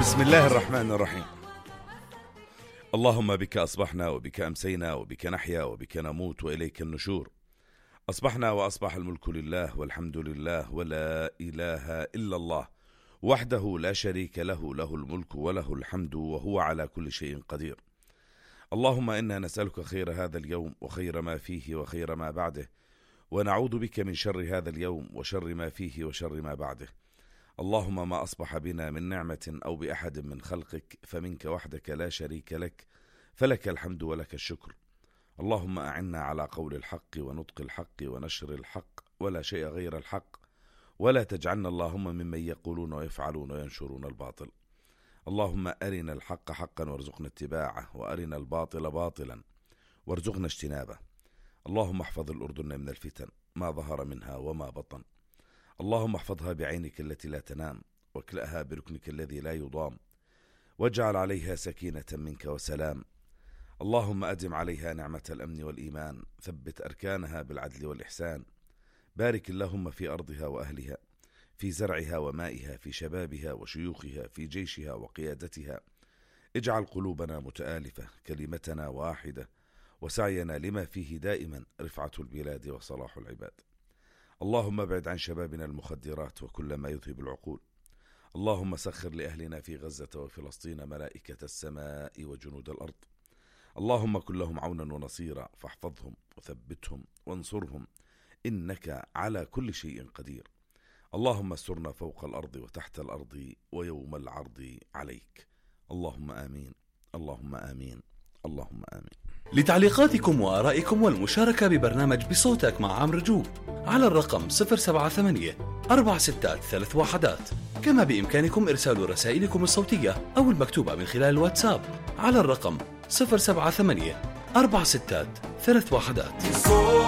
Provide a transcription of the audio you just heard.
بسم الله الرحمن الرحيم. اللهم بك أصبحنا وبك أمسينا وبك نحيا وبك نموت وإليك النشور. أصبحنا وأصبح الملك لله والحمد لله ولا إله إلا الله وحده لا شريك له، له الملك وله الحمد وهو على كل شيء قدير. اللهم إنا نسألك خير هذا اليوم وخير ما فيه وخير ما بعده، ونعوذ بك من شر هذا اليوم وشر ما فيه وشر ما بعده. اللهم ما أصبح بنا من نعمة أو بأحد من خلقك فمنك وحدك لا شريك لك، فلك الحمد ولك الشكر. اللهم أعنا على قول الحق ونطق الحق ونشر الحق ولا شيء غير الحق، ولا تجعلنا اللهم ممن يقولون ويفعلون وينشرون الباطل. اللهم أرنا الحق حقا وارزقنا اتباعه، وأرنا الباطل باطلا وارزقنا اجتنابه. اللهم احفظ الأردن من الفتن ما ظهر منها وما بطن. اللهم احفظها بعينك التي لا تنام، واكلأها بركنك الذي لا يضام، واجعل عليها سكينة منك وسلام. اللهم أدم عليها نعمة الأمن والإيمان، ثبت أركانها بالعدل والإحسان. بارك اللهم في أرضها وأهلها، في زرعها ومائها، في شبابها وشيوخها، في جيشها وقيادتها. اجعل قلوبنا متآلفة، كلمتنا واحدة، وسعينا لما فيه دائما رفعة البلاد وصلاح العباد. اللهم ابعد عن شبابنا المخدرات وكل ما يذهب العقول. اللهم سخر لأهلنا في غزة وفلسطين ملائكة السماء وجنود الأرض. اللهم كن لهم عونا ونصيرا، فاحفظهم وثبتهم وانصرهم، إنك على كل شيء قدير. اللهم استرنا فوق الأرض وتحت الأرض ويوم العرض عليك. اللهم آمين، اللهم آمين، اللهم آمين. لتعليقاتكم وآرائكم والمشاركة ببرنامج بصوتك مع عمرو جوب على الرقم 078-463-1. كما بإمكانكم إرسال رسائلكم الصوتية أو المكتوبة من خلال الواتساب على الرقم 078-463-1.